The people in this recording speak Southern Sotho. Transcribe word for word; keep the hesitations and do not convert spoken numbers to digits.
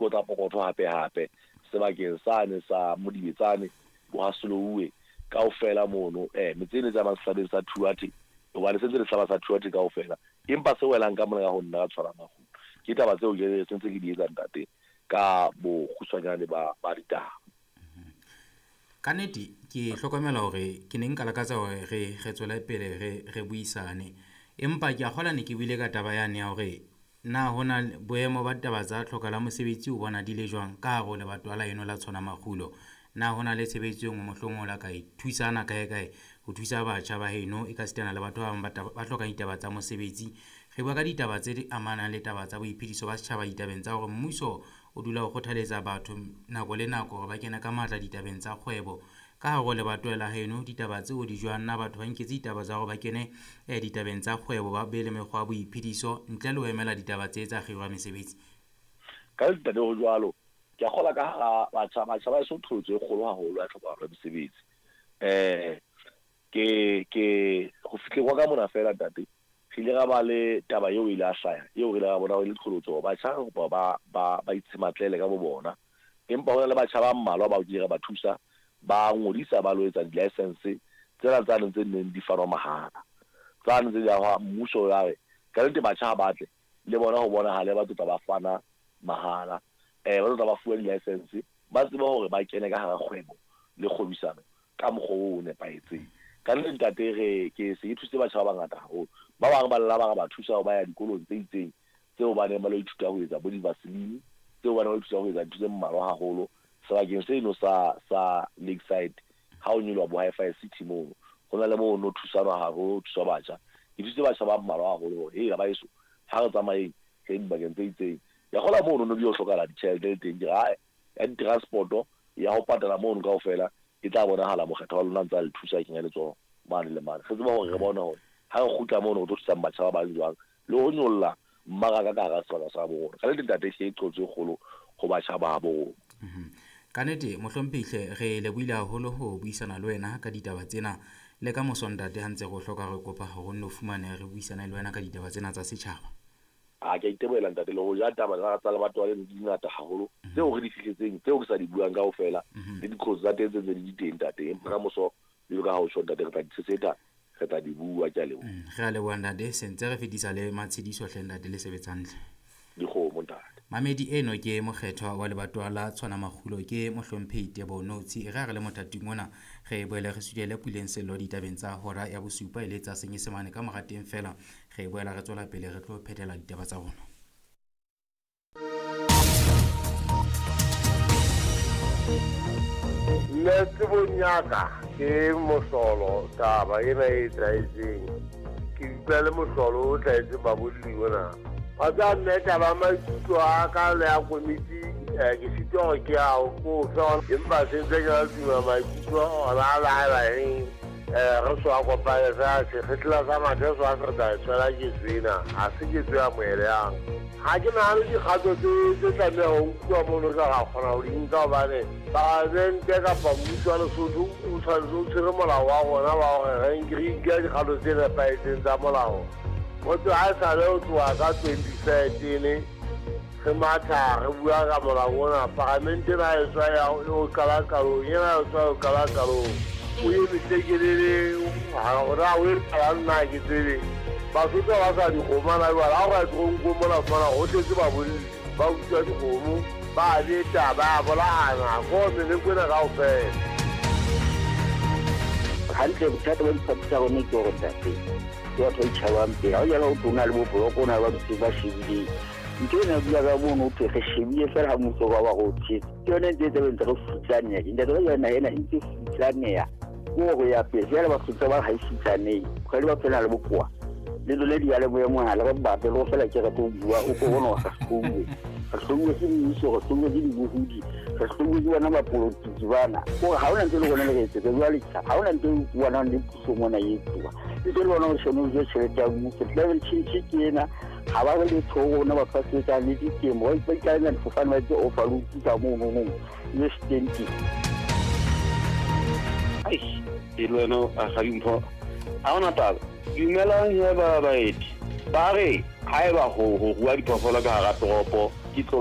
dikotla pokotho hape hape sebakeng sane sa Modibetsane bo Hasolouwe kaofela mono eh metse ene tsa mahlabeng sa Thuate hobane se ntse le hlaba sa Thuate kaofela empa se welang ka mona ka ho nna ka tshwara makgulo ke taba tseo ke sentse ke di etsa ntate ka bokgutshwanyane ba ba ditaba. Ka nnete ke hlokomela hore ke ne nka lakatsa hore re re tswele pele re re buisane, empa ke a kgolwa ne ke buile ka taba yane ya hore na hona boemo ba taba tsa tlhoka la mosebetsi o bona di le jwang ka hare ho lebatowa la eno la tshwana makgulo. Na hona le tshebetso e nngwe mohlomong o la ka e thusana kae kae ho thusa batjha ba heno e ka sitana le batho ba bang ba hlokang ditaba tsa mosebetsi. Re bua ka ditaba tse di amanang le taba tsa boiphediso ba setjhaba ditabeng tsa hore mmuso o dula o kgothaletsa batho nako le nako hore ba kene ka matla ditabeng tsa kgwebo. Ka hare ho lebatowa la heno ditaba tseo di jwang, na batho ba nketse ditaba tsa hore ba kene eh, ditabeng tsa kgwebo ba be le mekgwa ya boiphediso ntle le ho emela ditaba tse tsa kgiro ya mesebetsi? Ka ntate ho jwalo ke a kgola ka hara batjha batjha ba eso qholotso e kgolo haholo ya tlhokahalo ya mesebetsi. Eh ke ke ho fihleng kwa ka mona fela ntate re ile ra ba le taba eo ile a hlaya eo re ile ra bona e le qholotso batjha re kopa ba ba ba itshematlele ka bo bona, empa hona le batjha ba mmalwa bao ke re ba thusa ba ngodisa ba lo etsa di-license tsena tsane tse neng di fanwa mahala tsane tse di ya mmuso ya re ka nnete batjha ha batle le bona ho bonahale ba tlotla ba fana mahala eh ba tlotla ba fuwa di-license ba tsebe hore ba kene ka hara kgwebo le kgwebisano ka mokgwa o nepahetseng. Ka nnete ntate re ke se ke thusitse batjha ba bangata haholo, ba bang ba lla ba re ba thusa ba ya dikolong tse itseng tseo ba neng ba lo ithuta ho etsa bo di-vaseline tseo ba neng ba ithuta ho etsa dintho tse mmalwa haholo sebakeng seno sa sa Lakeside ha o nyoloha bo Hi-Fi City mono ho na le moo no thusanwa haholo thuswa batjha. Ke thusitse batjha ba mmalwa haholo hore hei ba eso ha re tsamayeng re dibakeng tse itseng ya kgola mono no bi o hlokahala ditjhelete le teng ke re ya di-transport ya ho patala mono kaofela e tla bonahala mokgetho wa lona ntse a le thusa kenya letsoho mane le mane. Re tseba hore re bone hore ha re kgutla mono ho tlo thusang batjha ba bang jwang le ho nyolla mmaraka ka hara sebaka sa bo rona. Ka nnete ntate ke qotso e kgolo ho batjha ba bo rona. Ka nnete mohlomphehi re lebohile haholo ho buisana le wena ka ditaba tsena le ka moso ntate ha ntse re o hloka re kopa hore o nno fumane re buisane le wena ka ditaba tsena tsa setjhaba. A ke itebohela ntate le ho ja taba tsa lebatowa leno di ngata haholo tseo re di fihletseng tseo ke sa di buang kaofela le diqholotso tsa teng tse ntse di teng ntate, empa ka moso jwalo ka ha o tjho ntate re tla di tshesetsa re tla di bua. Ke a leboha. Re a leboha ntate, se ntse re fetisa le matshediso hle ntate le sebetsang ntle. Dikgomo ntate. Mamedi eno ke mokgethwa wa lebatowa la tshwana makgulo ke mohlomphehi Teboho Notsi. Re a re le mothating ona re boele re sudele puleng sello ditabeng tsa hora ya bosupa e le tsa Senyesemane ka mora teng fela re boela re tswela pele re tlo phethela ditaba tsa rona. Nna tsebong ya ka ke mohlolo taba ena e etsahetseng, ke utlwa le mohlolo o tlwaetseng babolli ona. Wa tseba mme taba ya maikutlo a ka le ya komiti ke sitwa hore ke a ko fe, empa se ntse ke la tuma maikutlo ona a laela eng re so a kopane fela sekgehla sa mathe so a se re tla e tshwela ketso ena ha se ketso ya moeleyang. Ha ke nahane dikgato tse tse tlameha ho nkuwa mono tla ra kgona ho di nka hobane palamente kapa mmuso wa Lesotho o tshwanetse o tshwere molao wa rona wa hore re nke dikgato tse nepahetseng tsa molao. Motho ha esale ho tloha ka twenty thirteen re matha re bua ka molao ona, palamente ena e tswa ya o qala qalong, ena e tswa o qala qalong o eme tlekelele hore o e qalang nna ke tsebe. Basotho ba sa dikgomo na jwale ha o ka toronkong mona fumana ho tletse babolli ba utswa dikgomo ba beta ba bolayana ko meleko ena kaofela. Hantle bothata ba diphathi tsa rona ke hore ntate ke batho ba itjhabang pele ha o jala ho tona le boboloko o na le ba dutseng ba shebileng ntho ena bua ka mono ho thwe re shebile fela ha mmuso ba ba re o tshetse ke yone ntse e tlabe ntse re futsaneha ntate ka jana ena e ntse futsaneha ke hore ya pele jwale batho tsa ba ha e futsanehe kgwedi ba phela le bokowa le lone diyalemoya mohala re batle le go fela ke re tlo bua o ko bona re hlouwe re hlouwe ke mmuso re hlouwe ke dibohodi re hlouwe ke bona bapolotiki bana kore ha hona ntho e le rona le re etsetsa jwale ha hona ntho e bonang le puso mona e etsuwa ntho e le bona gore shone o je tjhelete ya mmuso climate change ke ena ha ba re letho ho rona batho ba sebetsang le ditemo ba ikaela difofane ba etse overload ka mono nong le stenti. Ai e le wena a ga dimpho ha hona taba. Dumelang he ba baeti ba re haeba ho ho rua diphoofolo ka hara toropo ke tlolo